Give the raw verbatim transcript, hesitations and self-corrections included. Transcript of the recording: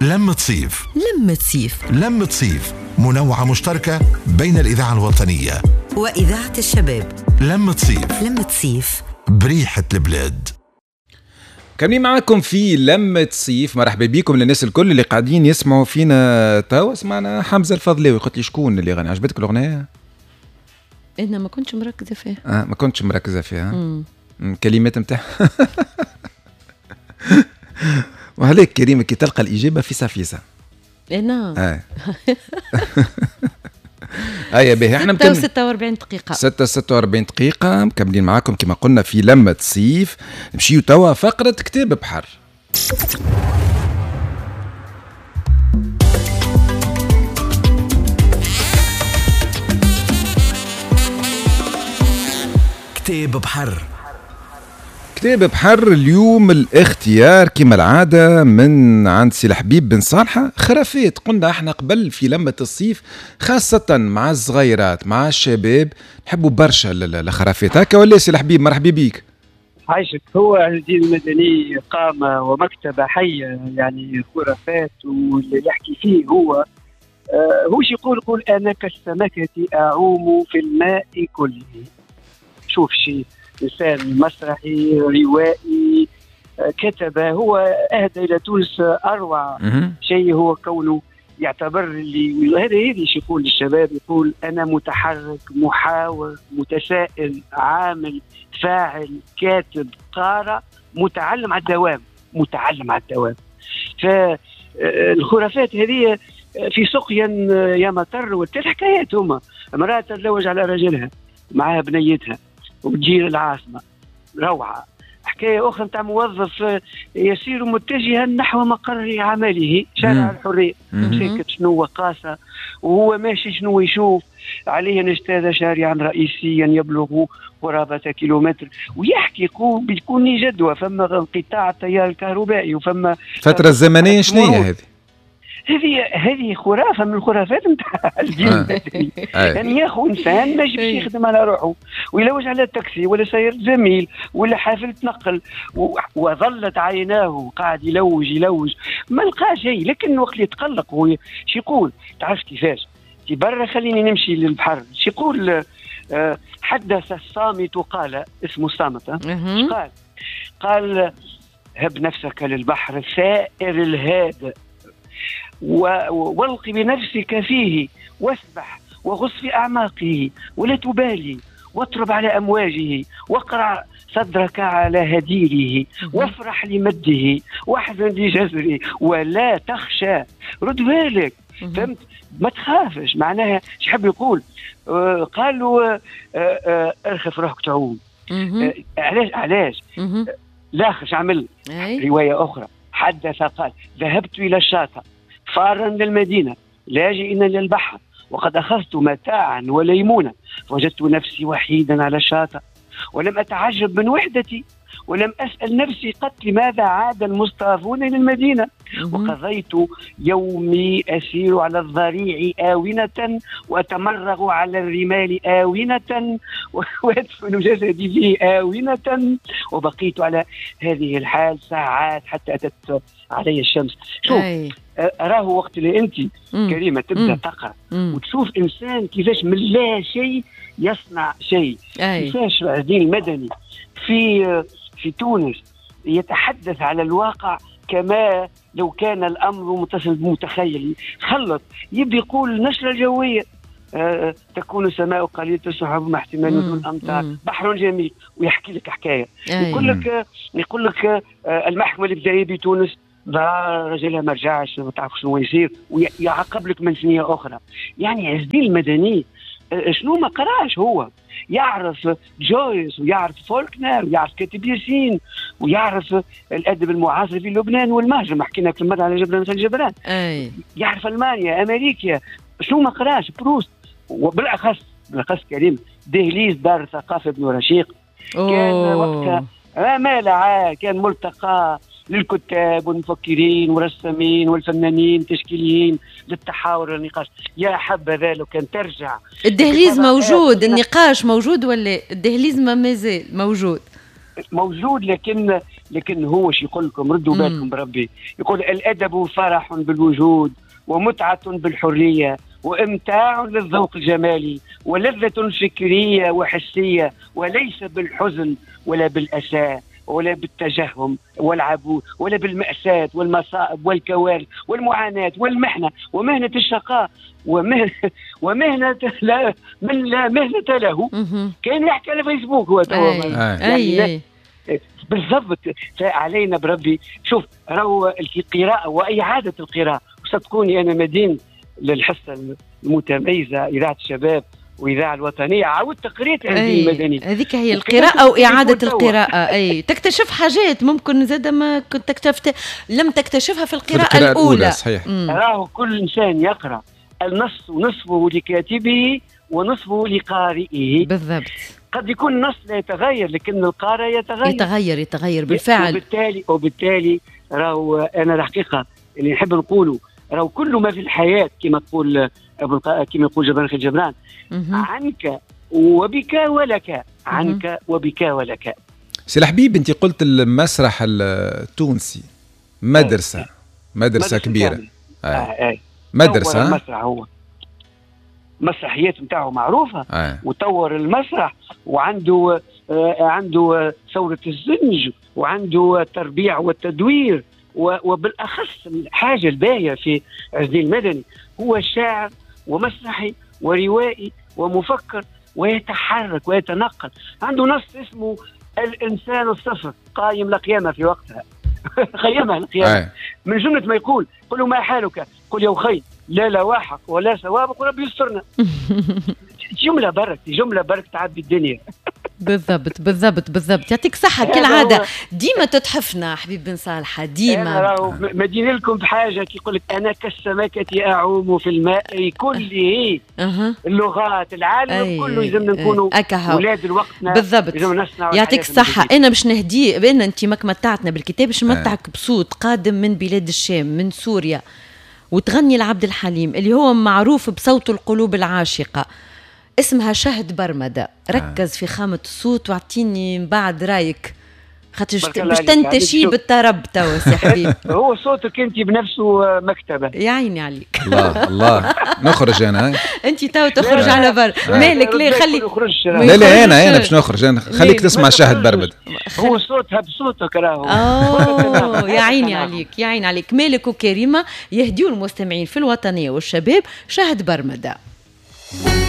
لمة صيف، لمة صيف، لمة صيف، منوعة مشتركة بين الإذاعة الوطنية وإذاعة الشباب. لمة صيف، لمة صيف، بريحة البلاد. كاملين معاكم في لمة صيف. مرحبا بكم للناس الكل اللي قاعدين يسمعوا فينا توا. سمعنا حمزة الفضلاوي، قلت لي شكون اللي غني؟ عجبتك الأغنية؟ أنا ما كنتش مركزة فيها. آه ما كنتش مركزة فيها. الكلمات نتاعها وعليك كريمة كي تلقى الإجابة فيسا فيسا. نعم. آه. هيا باهي، احنا ستة وستة وأربعين دقيقة. ستة وستة وأربعين دقيقة مكملين معاكم كما قلنا في لمة صيف. نمشيو توا فقرة كتاب بحر. كتاب بحر. كتاب بحر اليوم الاختيار كما العادة من عند سي الحبيب بن صالحة، خرافات. قلنا احنا قبل في لمة الصيف خاصة مع الصغيرات مع الشباب نحبوا برشا الخرافات هكا ولا سي الحبيب؟ مرحبا بيك. عايشك. هو الدين المدني قام ومكتبة حية، يعني خرافات، واللي يحكي فيه هو آه هو يقول يقول أنا كالسمكة أعوم في الماء كله. شوف شيء إنسان مسرحي روائي كتب، هو أهدى إلى تونس أروع شيء هو كونه يعتبر اللي هذا هذا يقول للشباب، يقول أنا متحرك محاور متسائل عامل فاعل كاتب قارئ متعلم على الدوام، متعلم على الدوام. فالخرافات هذه في سقيا يا مطر والثلاث حكايات هما امرأة تتزوج على رجلها معها بنيتها وتجي للعاصمة، روعة. حكاية أخرى نتاع موظف يسير متجها نحو مقر عمله شارع الحرية، ساكت شنو قاسة وهو ماشي شنو يشوف عليه أن اجتاز شارعا رئيسيا يبلغ قرابة كيلومتر، ويحكي يقول بيكون جدوى، فما انقطاع التيار الكهربائي وفما فترة الزمنية شنو هي هذه؟ هذه هذه خرافه من الخرافات نتاع الجيل المدني. يعني ياخذ انسان ماشي باش يخدم على روحه ويلوج على التاكسي ولا سير زميل ولا حافلة نقل، وظلت عيناه قاعد يلوج يلوج ما لقى شيء. لكن وقت اللي يتقلق هو شو يقول؟ تعرف كيفاش؟ برا خليني نمشي للبحر. شو يقول؟ حدث الصامت قال، اسمه الصامت، قال قال هب نفسك للبحر الثائر الهادئ والق بنفسك فيه واسبح وغص في أعماقه ولا تبالي واطرب على أمواجه واقرع صدرك على هديره وافرح لمده واحزن لجزره ولا تخشى. رد بالك، فهمت؟ ما تخافش. معناها ايش حب يقول؟ آه قالوا آه آه ارخف روحك تعوم. آه علاش علاش؟ لا خش عمل رواية أخرى. حدث قال ذهبت إلى الشاطئ فارا للمدينة لاجئا للبحر وقد أخذت متاعا وليمونة فوجدت نفسي وحيدا على الشاطئ ولم أتعجب من وحدتي ولم أسأل نفسي قط لماذا عاد المصطافون إلى المدينة. وقضيت يومي أسير على الضريع آونة وأتمرغ على الرمال آونة وأدفن جسدي فيه آونة وبقيت على هذه الحال ساعات حتى أتت علي الشمس. شوف أراه وقت اللي أنت كريمة تبدأ تقرأ وتشوف إنسان كيفاش من لا شيء يصنع شيء، كيفاش الدين المدني في في تونس يتحدث على الواقع كما لو كان الأمر متصل بمتخيل. خلط يبي يقول النشرة الجوية آه تكون السماء قليلة السحب مع احتمال نزول أمطار، بحر جميل، ويحكي لك حكاية. يقول لك يقول لك آه المحكمة الابتدائية بتونس رجلها ما رجعش ما تعرف شنو يصير ويعاقب لك من سنية أخرى. يعني عز الدين المدني شنو ما قراش، هو يعرف جويس ويعرف فولكنر ويعرف كاتب ياسين ويعرف الأدب المعاصر في لبنان والمهجر، ما حكينا كل مرة على جبران مثل جبران. أي. يعرف ألمانيا أمريكا، شنو ما قراش؟ بروست، وبالأخص بالأخص كريم دهليز دار الثقافة ابن رشيق. كان وقتها ما لعا كان ملتقى للكتاب والمفكرين والرسامين والفنانين التشكيليين للتحاور والنقاش. يا حبذا لو كان ترجع الدهليز موجود، النقاش موجود ولا الدهليز ما مازال موجود؟ موجود، لكن لكن هو شو يقول لكم، ردوا بالكم بربي، يقول الادب فرح بالوجود ومتعه بالحرية وامتاع للذوق الجمالي ولذة فكرية وحسيه، وليس بالحزن ولا بالاسى ولا بالتجهم والعبوس ولا بالمأساة والمصائب والكوارث والمعاناة والمحنة ومهنة الشقاء ومهنة, ومهنة لا من لا مهنة له. كان يحكي على فيسبوك هو توا يعني أي. بالضبط. فعلينا بربي، شوف راهو القراءة وإعادة القراءة، وصدقوني أنا مدين للحصة المتميزة إذاعة الشباب وإذاعة الوطنية، عاودت قريت عز الدين المدني. هذيك هي القراءة أو إعادة القراءة. أي تكتشف حاجات ممكن زاد ما كنت اكتشفت لم تكتشفها في القراءة, في القراءة الأولى. الأولى. صحيح. راهو كل إنسان يقرأ النص نصفه لكاتبه ونصفه لقارئه. بالضبط. قد يكون النص لا يتغير لكن القارئ يتغير. يتغير يتغير بالفعل. وبالتالي وبالتالي راهو أنا الحقيقة اللي نحب نقوله، راهو كل ما في الحياة كما تقول أبو الق... كما يقول جبران خليل جبران، عنك وبك ولك، عنك وبك ولك. سي الحبيب، أنت قلت المسرح التونسي مدرسة، مدرسة كبيرة. آه. آه. مدرسة. المسرح هو مسرحيات نتاعو معروفة. آه. وطور المسرح، وعنده آه عنده ثورة الزنج، وعنده التربيع والتدوير، وبالأخص الحاجة الباهية في عز الدين المدني هو شاعر ومسرحي وروائي ومفكر، ويتحرك ويتنقل. عنده نص اسمه الإنسان الصفر، قايم لقيامة في وقتها قيمها القيامة. من جملة ما يقول، قل ما حالك، قل يا أخي لا لواحق ولا سوابق وربي يسترنا. جملة برك، جملة برك تعبي الدنيا. بالضبط بالضبط بالضبط. يعطيك صحة كالعادة، ديما تتحفنا حبيب بن صالحة، ديما. مدين لكم بحاجة كي يقول لك أنا كالسمكة أعوم في الماء كله. أه. اللغات العالم كله يلزمنا نكونوا أولاد الوقتنا. بالضبط. يعطيك الصحة. أنا باش نهدي بأن أنت ماك متعتنا بالكتاب، باش نمتعك بصوت قادم من بلاد الشام، من سوريا، وتغني لعبد الحليم اللي هو معروف بصوت القلوب العاشقة، اسمها شهد برمدة. ركز في خامة الصوت واعطيني من بعد رايك، خاطر باش تنتشي بالطرب توا سي حبيب. هو صوتك انت بنفسه مكتبة. يا عيني عليك. الله الله، نخرج انا. انت توا تخرج على بر مالك؟ ليه خلي لا لا انا انا باش نخرج انا، خليك تسمع شهد برمدة. هو صوتها بصوتك راهو. اوه يا عيني عليك، يا عيني عليك. مالك وكريمة يهديوا المستمعين في الوطنية والشباب شهد برمدة.